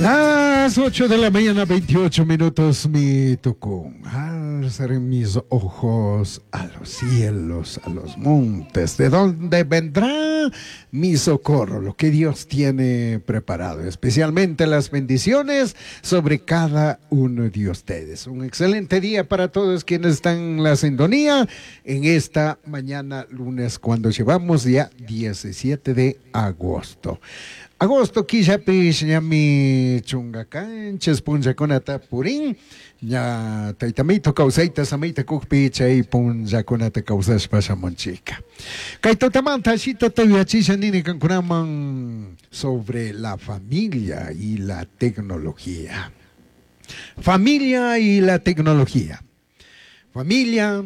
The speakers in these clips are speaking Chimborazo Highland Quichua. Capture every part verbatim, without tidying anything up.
Las ocho de la mañana, veintiocho minutos, mi tucún. Alzaré mis ojos a los cielos, a los montes, de donde vendrá mi socorro, lo que Dios tiene preparado, especialmente las bendiciones sobre cada uno de ustedes. Un excelente día para todos quienes están en la sintonía en esta mañana lunes, cuando llevamos ya diecisiete de agosto. Agosto killapish ñami chunga kanchis punllakunata purin, ña taytamito kawsayta samayta kukpi chay punllakunata kawsashpa shamunchika. Kay tutamanta ashitata yuyachisha nini kankunaman sobre la familia y la tecnología. Familia y la tecnología. Familia,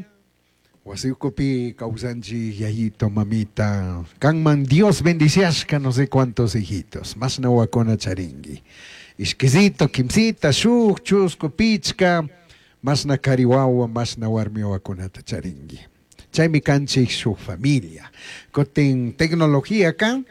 wasiukupi kawsanchi yayito, mamita, kanman Dios bendiciashka no sé cuántos hijitos, más na wakuna charingui. Ishkisito, kimsita, shuk, chusku, pichka, más na kariwawa, más na warmi wakunata charingui. Chaymi kanchik shuk familia. Kotin tecnología ka,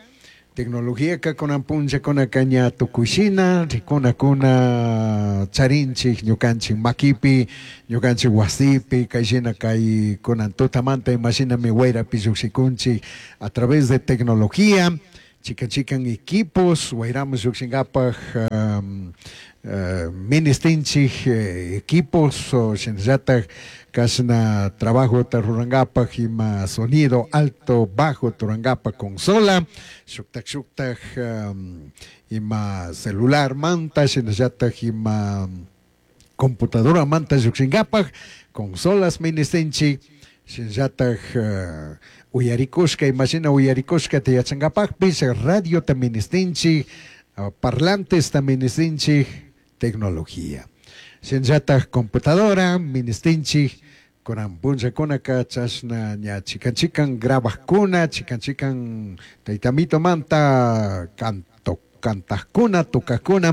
tecnología ka kunan punlla kuna kaña tukushina, rikuna kuna charinchik, ñukanchik makipi, ñukanchik wasipi, kayshina kay kunan tutamanta imashina mi wayrapi llukshikunchik a través de tecnología, chikan chikan equipos, wayramos llukshinkapaj, um, uh, ministinchik, eh, equipos, o shinallatak kashna trabajo rurangapak ima sonido alto, bajo turangapa consola, shuktak shuktak, um, ima celular manta, shinallatak ima computadora manta llukshingapak, consolas ministinchik, shinallatak, uh, uyarikushka, imashina uyarikushka tiyachangapakpish, radio ta ministinchik, uh, parlantes ta ministinchik, tecnología. Shinallatak computadora ministinchik, kunan punllakunaka chashna ña chikan chikan grabajkuna, chikan chikan taytamito manta canto, kantajkuna, tocajkuna,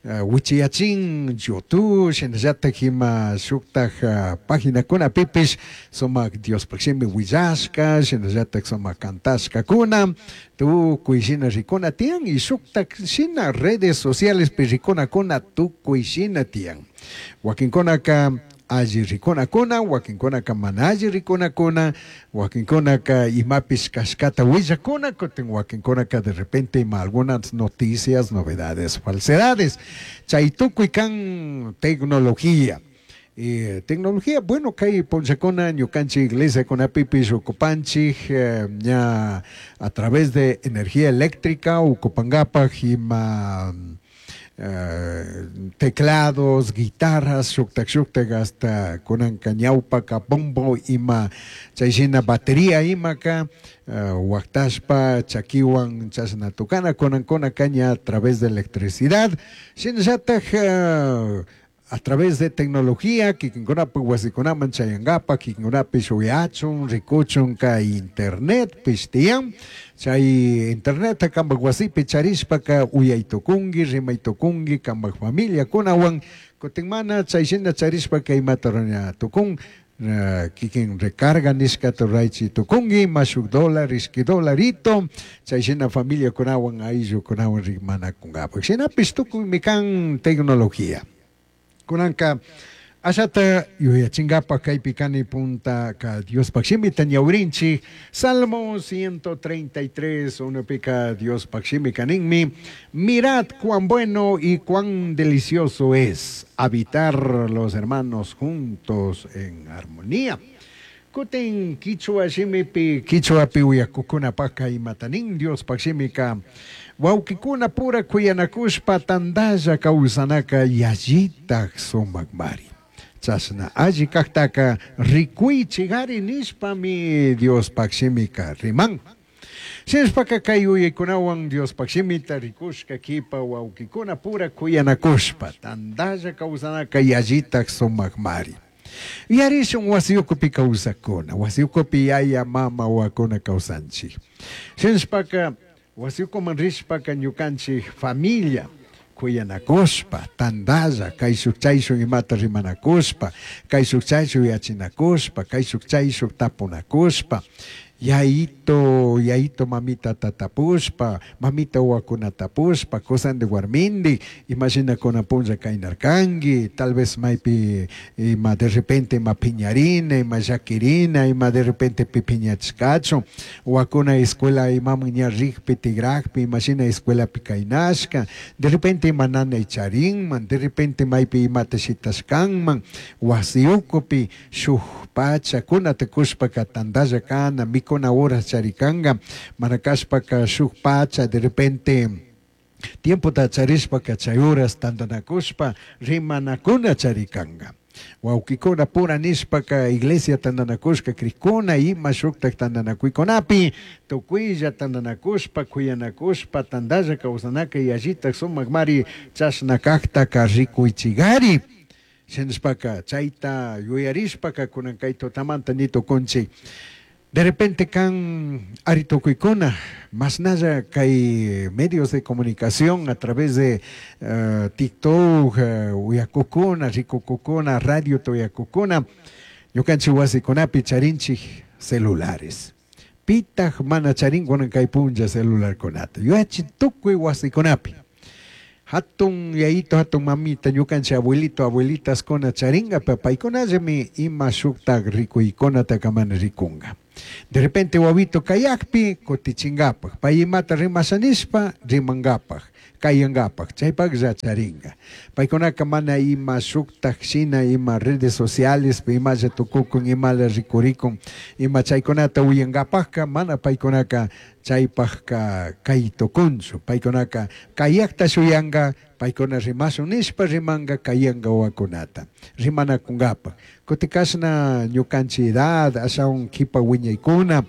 uh, wichiyachin YouTube, shinallatak ima shuktaj, uh, paginakuna pipish, sumak Diospaj shimi willashka, shinallatak sumak kantashkakuna, tukuy shina rikuna tiyan, y shuktak shina redes sociales pi rikunakuna tukuy shina tiyan. Wakinkunaka alli rikunakuna, wakinkunaka mana alli rikunakuna, wakinkunaka imapish kashkata willakuna, kutin wakinkunaka de repente ima algunas noticias, novedades, falsedades. Chay tukuy kan tecnología. Eh, tecnología, bueno, kay punllakuna ñukanchik iglesia kunapipish ukupanchik, eh, ña a través de energía eléctrica ukupankapaj ima, eh, teclados, guitarras, shuktak shuktak hasta kunanka ñawpaka bombo ima chayshina batería imaka, eh, waktashpa chakiwan chashna tukana kunankuna kaña a través de electricidad, shinallatak, eh, a través de tecnología, kikinkunapi wasikunaman chayankapa, kikinkunapish uyachun, rikuchun kay internet pish tiyan, chay internet kampak wasipi charishpaka uyaytukunki, rimaytukunki kampak familiakunawan, kutin mana chayshina charishpaka imata rurana tukun, eh, kikin recarga nishkata ruraychi tukunki, mashuk dólar, ishki dolarito, chayshina familiakunawan, ayllukunawan rimanakunkapak. Shinapish tukuymi kan tecnología. Kunanka ashata yuyachinkapak kaypi kani punta ka Diospaj shimita ñawrinchik, Salmo ciento treinta y tres, unupika Diospaj shimi kaninmi, mirad cuán bueno y cuán delicioso es habitar los hermanos juntos en armonía. Kutin kichwa shimipi, kichwapi uyakukunapaka imatanin Diospaj shimika, wawkikuna pura kuyanakushpa tandalla kawsanaka yallitak sumakmari. Chashna alli kaktaka rikuychigari nishpami Diospaj shimika riman. Shinashpaka kay uyaykunawan Diospaj shimita rikushka kipa wawkikuna pura kuyanakushpa tandalla kawsanaka yallitak sumakmari. Yarishun wasiyukupi kawsakuna, wasiyukupi yaya mama wakuna kawsanchik. Shinashpaka wasiyukuman rishpaka ñukanchik familia kuyanakushpa, tandalla, kayshuk chayshuk imata rimanakushpa, kayshuk chayshuk yachinakushpa, kayshuk chayshuk tapunakushpa, Yaito, yaito mamita tatapushpa, mamita wakuna tapushpa, kusandi warmindi, imagina kuna punlla kainarkangi, tal vez maypi ima de repente ima piñarina, ima llaquirina, ima de repente pipiñachkachu, wakuna escuela imaman ña rikpi tigrajpi, imagina escuelapi kainashka, de repente ima nanay charinman, de repente maypi imata shitashkanman, wasi ukupi shuk pacha kunata kushpaka tandalla kana, mikuna horas charikanga, mana kashpaka shuk pacha de repente tiempota charishpaka chay horas tandanakushpa rimanakuna charikanga. Wawkikuna pura nishpaka iglesia tandanakushka krikuna ima shuktak tandanakuykunapi tukuylla tandanakushpa kuyanakushpa tandalla kawsanaka yallitak sumak mari chashna kaktaka rikuychigari. Shinashpaka chayta yuyarishpaka kunan kay tutamanta nitukunchik. De repente kan ari tukuykuna masnalla kay medios de comunicación a través de uh, TikTok, uh, uyakukuna, rikukukuna, radio tuyakukuna, ñukanchik wasikunapi charinchik celulares. Pitaj mana charin kunan kay punlla celularkunata. Yuyachi tukuy wasikunapi. Hatun yayito, hatun mamita, ñukanchik abuelito, abuelitas kuna charinga, paykunallami ima shuktak rikuykunata kamana rikunga. De repente wawito kayakpi kutichingapak, pay imata rimashanishpa rimangapak, kayangapak, chaypaklla charinga. Paykunaka mana ima shuktak shina, ima redes sociales, imalla tukukun, imalla rikurikun, ima chaykunata uyangapakka, mana paykunaka chaypakka kay tukunchu, paykunaka kayakta shuyanga, paykuna rimashun nishpa rimanga kayanga wawakunata, rimanakungapak. Kutikashna ñukanchik edad, ashawan kipa wiñaykuna,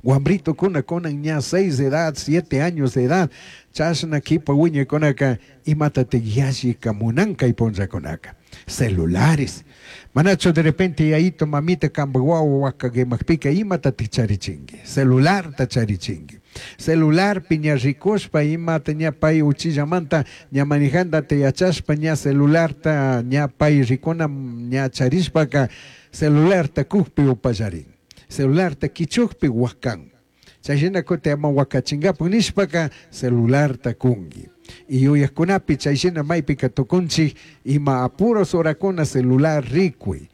wambritukuna kunan ña seis de edad, siete años de edad, chashna kipa wiñaykunaka imatatik yallika munan kay punllakunaka. Celulares. Manachu de repente yayito mamita kampak wawa wakakimapika imatatik charichinki, celularta charichinki. Celular piña rikushpa imata ña pay uchillamanta ña manejandata yachashpa ña celularta ña pay rikuna ña charishpaka celularta kukpi upallarin, celularta kichukpi wakan. Chayshina kuti ama wakachinkapak nishpaka celularta kunki. Y yuyakkunapi chayshina maypika tukunchik ima apuros horakuna celular rikuy.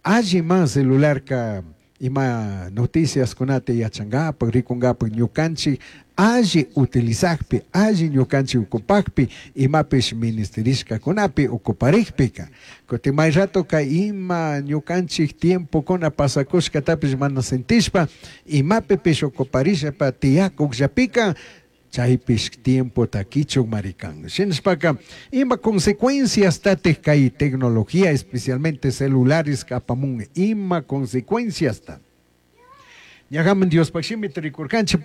Alli man celularka ima noticias kunata yachankapak, rikunkapak ñukanchik alli utilizakpi, alli ñukanchik ukupakpi, imapish ministerishkakunapi ukuparikpika. Kuti may ratoka ima ñukanchik tiempokuna pasakushkatapish mana sentishpa, imapipish ukuparishpa tiyakukllapika, chaypish tiempota kichuk marikan. Shinashpaka ima consecuencias tatik kay tecnología, especialmente celulares apamun, ima consecuencias ta. Ñagaman Dios shimita rikurkanchik,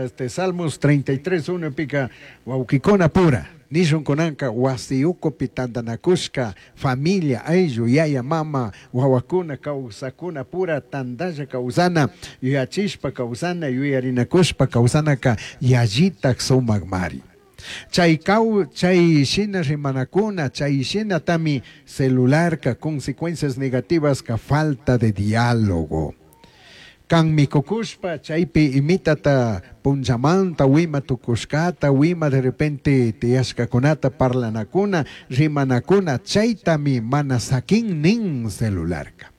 este, Salmos treinta y tres, uno pica, wawkikuna pura, nishun kunanka wasi ukupi tandanakushka, familia, ayllu, yaya, mama, wawakuna, kawsakuna pura, tandalla kawsana, yuyachishpa kawsana, yuyarinakushpa kawsanaka, yallitak sumak mari. Chay kaw, chay shina rimanakuna, chay shina tami celularka, consecuencias negativas ka falta de diálogo. Kan mikukushpa chaypi imitata punllamanta wima tukushkata, wima de repente tiyashkakunata parlanakuna, rimanakuna, chaytami mana sakin nin celularka.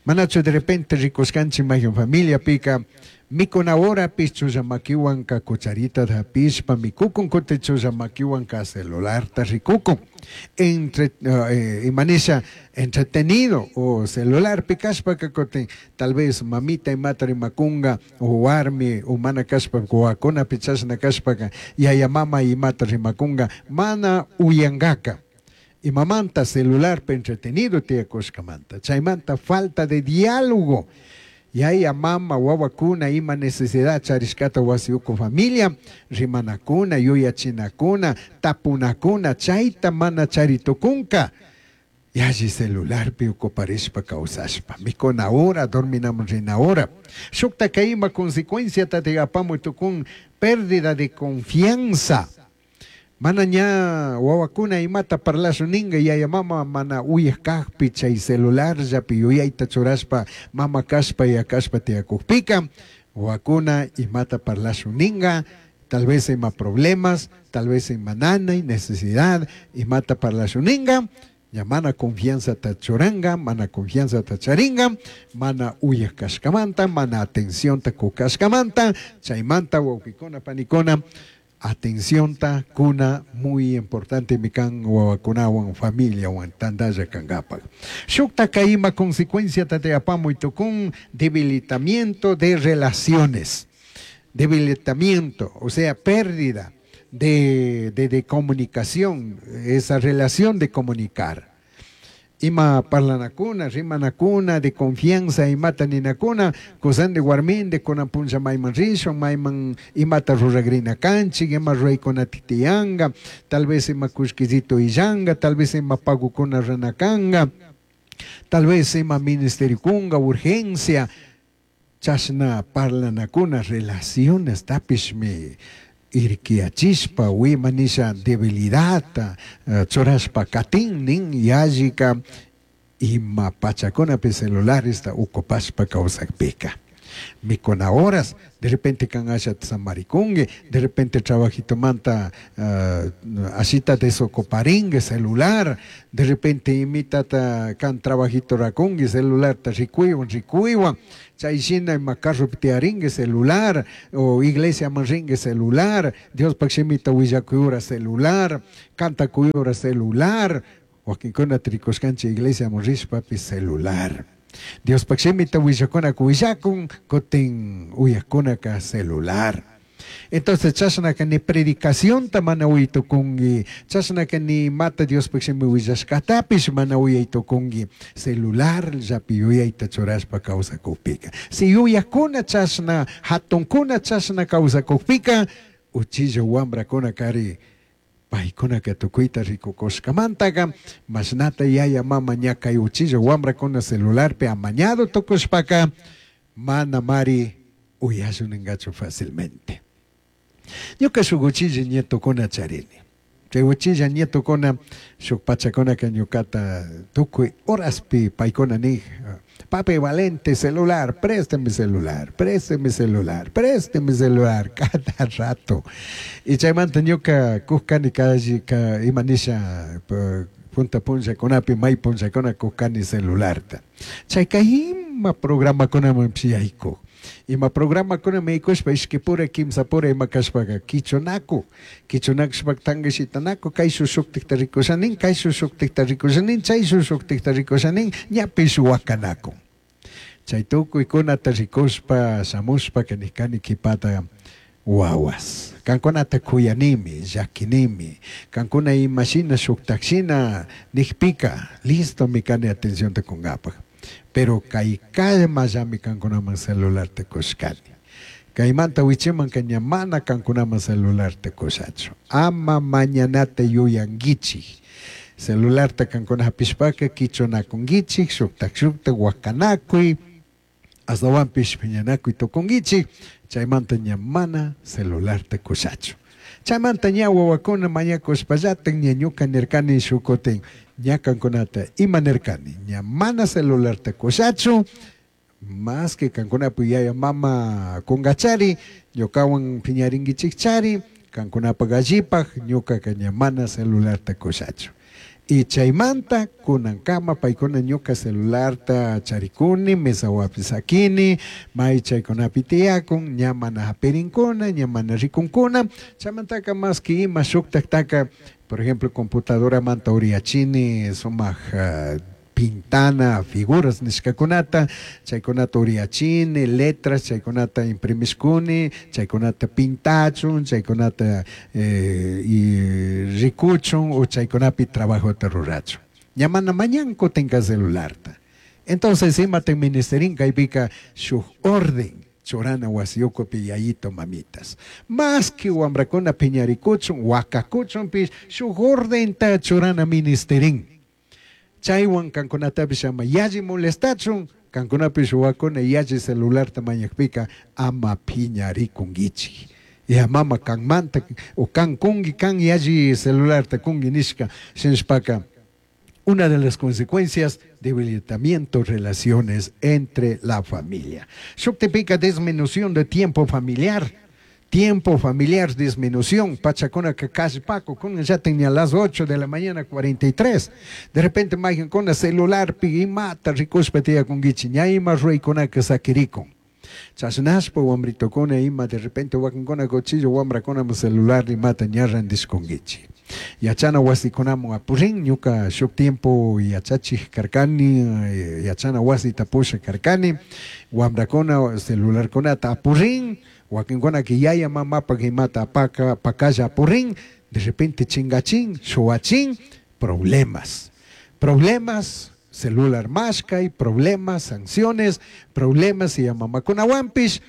Manachu de repente rikushkanchik mayun familia pika, mikuna horapish chullamakiwanka cucharita hapishpa mikukun, kuti chullamakiwanka celularta rikukun. Entre, eh, imanisha entretenido o celular pikashpaka kutin tal vez mamita imata rimakunga o warmi o mana kashpa wawakuna pichashna kashpaka yaya mama imata rimakunga mana uyangaka. Imamanta celular pe entretenido tiyakushkamanta chaymanta falta de diálogo. Yaya mama wawakuna ima necesidad charishkata wasi uku familia rimanakuna yuyachinakuna tapunakuna chayta mana charitukunka yalli celularpi ocuparishpa kawsashpa mikuna hora dorminamun rina hora shuktaka ima consecuencia tati apamuy tukun pérdida de confianza. Mana ña wawakuna imata parlashu ninga yaya mama mana uyaj kajpi chay celular llapi yuyayta churashpa mama kashpa ya kashpa tiyakukpika Wawakuna imata parlashun ninga, tal vez ima problemas, tal vez ima nanay, necesidad, imata parlashun ninga, ña mana confianzata churanga, mana confianzata charinga, mana uyaj kashkamanta, mana atencionta kukashkamanta, chaymanta wawkikuna panikuna, atencionta kuna muy importante mi kan wawakunawan familiawan tandalla kankapak. Shuktaka ima consecuencia te apamuy tukun debilitamiento de relaciones, debilitamiento, o sea, pérdida de, de, de comunicación, esa relación de comunicar. Ima parlanakuna, rimanakuna, de confianza, imata ninakuna, kusandi warmindi, kunan punlla mayman rishun, mayman imata ruragrina kanchik, ima ruraykuna tiyanga, tal vez ima kullkisito illanga, tal vez ima pagukuna ranakanga, tal vez ima ministerio kunga, urgencia, chashna parlanakuna, relaciones tapishmi irkiyachishpa, wima nisha debilidadta, uh, churashpa katin nin yallika ima pachakunapi celularesta ukupashpa kawsakpika. Mikuna horas, de repente kan asha samarikungi, de repente trabajitomanta uh, ashita desocuparingue celular, de repente imitata kan trabajito rakungi celular ta rikuywan rikuywan, chay shina ima carropi tiyaringue celular, o iglesia man ringue celular, Diospak shimita willakuyura celular, kantakuyura celular, wakinkuna rikushkanchik iglesia man rishpapish celular. Diospak shimita willakunaka willakun, kutin uyakunaka celular. Entonces chashnaka ni predicacionta mana uyaytukunki, chashnaka ni imata Diospak shimi willashkatapish mana uyaytukunki, celular llapi yuyayta churashpa kawsakukpika. Si yuyakuna chashna, hatunkuna chashna kawsakukpika, uchilla wambrakuna kari paykunaka tukuyta rikukushkamantaka, mashnata yaya mama ña kay uchilla wambrakuna celularpi amañado tukushpaka, mana mari uyashun ningachu fácilmente. Ñuka shuk uchilla nietokuna charini. Chay uchilla nietokuna shuk pachakunaka ñukata tukuy horaspi paykuna nij, papi Valente, celular, présteme celular, présteme celular, présteme celular, cada rato. Y chaymanta ñuka kujkani ka ima nisha punta punllakunapi may punllakuna kujkani celularta. Chayka ima programakunaman yaykuj. Ima programakuna yaykushpa ishkipura kimsapura ima kashpaka kichunaku, kichunakushpa tankashitanaku, kayshuk shuktikta rikushanin, kayshuk shuktikta rikushanin, chayshuk shuktikta rikushanin, ñapish wakanakun. Chay tukuykunata rikushpa shamushpa nijkani kipata wawas. Kankunata kuyanimi, llakinimi, kankuna imashina shuktakshina nijpika, listo mi kani atencionta kunkapak. Pero kay kallmallami kankunaman celularta kushkani. Kaymanta wichimanka ña mana kankunaman celularta kushachu. Ama mañanata yuyankichik. Celularta kankuna hapishpaka kichunakunkichik, shuktak shuktak wakanakuy, astawanpish piñanakuy tukunkichik, chaymanta ña mana celularta kushachu. Chaymanta ña wawakuna mañakushpallatak ña ñuka nirkani shukutin, ña kankunata ima nirkani, ña mana celularta kushachu, más que kankunapu yaya mama kunkachari, ñukawan piñarinkichikchari, kankunapak allipak, ñukaka ña mana celularta kushachu. Y chaymanta kunankama paykuna ñuka celularta charikuni, mesawapi sakini, may chaykunapi tiyakun, ña mana hapirinkuna, ña mana rikunkuna, chaymantaka más que ima shuktaktaka, por ejemplo, computadora manta uriyachini, sumak uh, pintana figuras nishkakunata, chaykunata uriyachini, letras, chaykunata imprimishkuni, chaykunata pintachun, chaykunata eh, y rikuchun o chaykunapi trabajota rurachun. Ña mana mañan kutinka celularta. Entonces imata ministerin kaypika shuk orden churana wasiyukupi yayito mamitas. Más que wambrakuna piñarikuchun, wakakuchunpish, shuk ordenta churana ministerin. Chaywan kankunatapish ama yalli molestachun, kankunapish wawakuna yalli celularta mañakpika ama piñarikunkichik. Ya mama kanmanta o kan kungi kan yalli celularta kungi nishka shinashpaka Una de las consecuencias, debilitamiento relaciones entre la familia. Shuktipica disminución de tiempo familiar. Tiempo familiar, disminución. Pachacona que casi paco, con ya tenía las ocho de la mañana cuarenta y tres. De repente, magen con el celular, pigi mata, ricuspetía con guichi, ñaima rey con que saquirico. Chasnaspo, wambrito con ima, de repente, wakin cochillo, wambra con celular y mata, ñarran disconguichi. Yachana wasikunamun apurin, ñuka shuk tiempo yachachij karkani, yachana wasi tapusha karkani, wambrakuna celularkunata apurin, wakinkuna que yaya mamapa imata apaka pakalla apurin, de repente chingachin, shuachin, problemas, problemas, celular mashkay, problemas, sanciones, problemas y mamakuna wampish,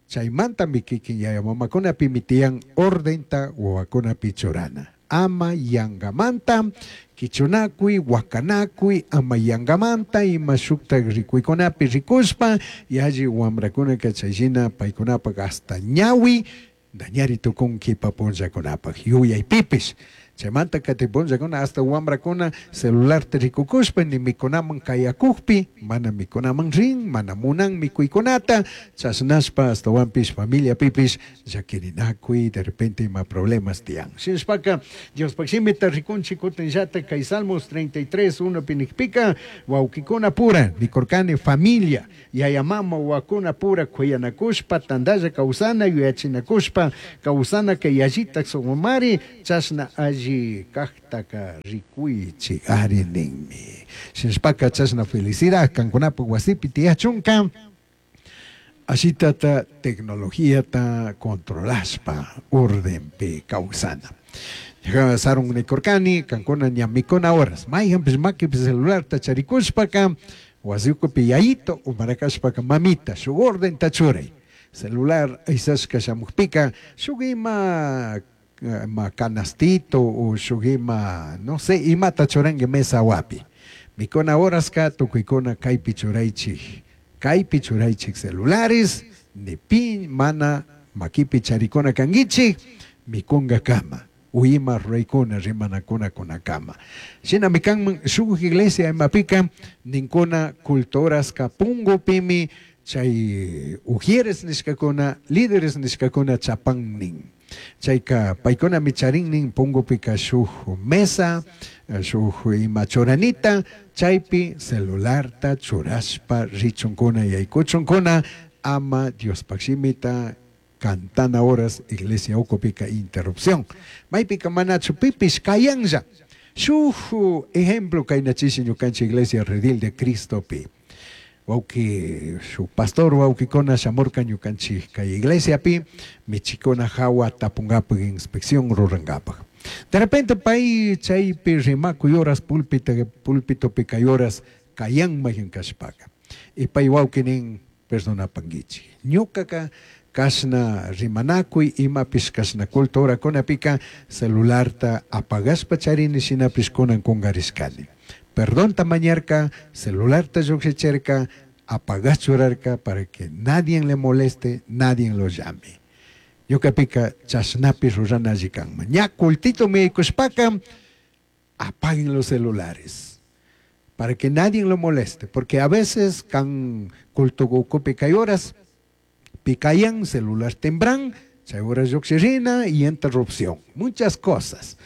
chaymanta mikikin yaya mamakuna pimitian ordenta wawakuna pichurana. Ama yangamanta, kichunakui, wakanakui, ama yangamanta, ima shukta rikuykunapi rikushpa, yalli wamrakuna kachayshina paykunapak hasta ñawi, dañari tukun kipa punllakunapak, yuyaypipish. Chaymanta kati punllakuna hasta wamrakuna celular rikukushpa, ni mikunaman kayakukpi, mana mikunaman rin, mana munan mikuykunata, chasnashpa hasta wampish familia pipish, llakirinakui, de repente ima problemas tiyan. Shinashpaka, Diospaq shimita rikunchik kutinllata kay Salmos treinta y tres, uno pinikpika, wawkikuna pura, nikurkani familia, yaya mama wakuna pura kuyanakushpa, tandalla kawsana, yuyachinakushpa, kawsana kay yallitak sumamari, chashna alli kaktaka rikuichi ari ninmi. Shinashpaka chashna felicidad kankunapak wasipi tiyachunka, ashitata tecnologíata controlashpa ordenpi kawsana. Sarun nikurkani kankuna ñamikuna horas mayhanpish makipi celularta charikushpaka wasiukupi yayito umarakashpaka mamita shuk ordenta churay celular aysashka shamukpika shuk ima ma canastito o shuk ima no sé imata churanki mesa wapi mikuna horaska tukuykuna kaypi churaychik kaypi churaychik celulares ni pi mana makipi charikuna kankichik mikunga kama uima ruraykuna rimanakuna kunakama shina mikanman shuk iglesia imapika ninkuna cultoraska pungupimi chay ujieres nishkakuna líderes nishkakuna chapan nin. Chayka paykuna micharinnin pungupika shuk mesa, shuk ima churanita, chaypi celularta churashpa richunkuna yaykuchunkuna ama Diospaq shimita cantana horas iglesia ukupika interrupción. Maypika manachu pipish kayanlla. Shuk ejemplo kaynachishi ñukanchik iglesia Redil de Cristopi. Wauki su pastor wauki-kona shamurka ñukanchik kay iglesiapi michikuna hawa tapungapak inspección rurangapak. De repente pay chaypi rimakuy horas púlpito púlpitopi kay horas kayanmayan kashpaka. Y pay wauki nin perdonapankichik. Ñukaka kashna rimanakuy imapish kashna culto horakunapika celularta apagashpa charini shinapish kunan kungarishkani. Perdón mañarca, celular ta lluqshicherka, apagachurarka para que nadie le moleste, nadie lo llame. Ñuqapika chashnapi rurana alli kanman. Ña cultito miyaykushpaka, apaguen los celulares para que nadie lo moleste, porque a veces kan culto ukupi kay horas, pikayan celular tembran, chay horas lluqshirina y interrupción, muchas cosas.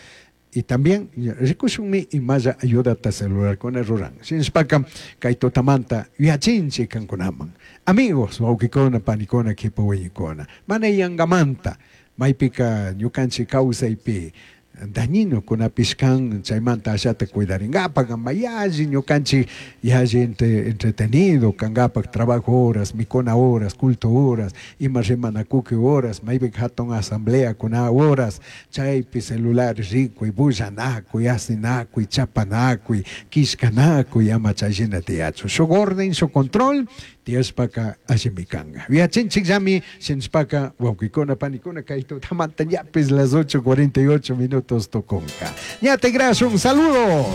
Y también rikushunmi imalla ayudata celular con el ruran. Shinashpaka kay tutamanta yachinchik kankunaman. Amigos, wawkikuna, panikuna, kipa wiñikuna. Mana yangamanta maypika ñukanchik kawsaypi dañino kunapish kan chaymanta ashata cuidaringapak mayalli ñukanchik yalli entretenido kangapak trabajo horas, mikuna horas, culto horas, ima rimanakuki horas, maypika hatun asamblea kuna horas, chaypi celular rikuy, bullanakuy, asinakuy, chapanakuy, kishkanakuy, ama chayshina tiyachu. Shuk orden, shuk control, tiyashpaka allimi kanka. Yachinchikllami shinashpaka wawkikuna, panikuna, kay tutamanta ñapis las ocho cuarenta y ocho minutos toconca. Ñate gracias, saludos.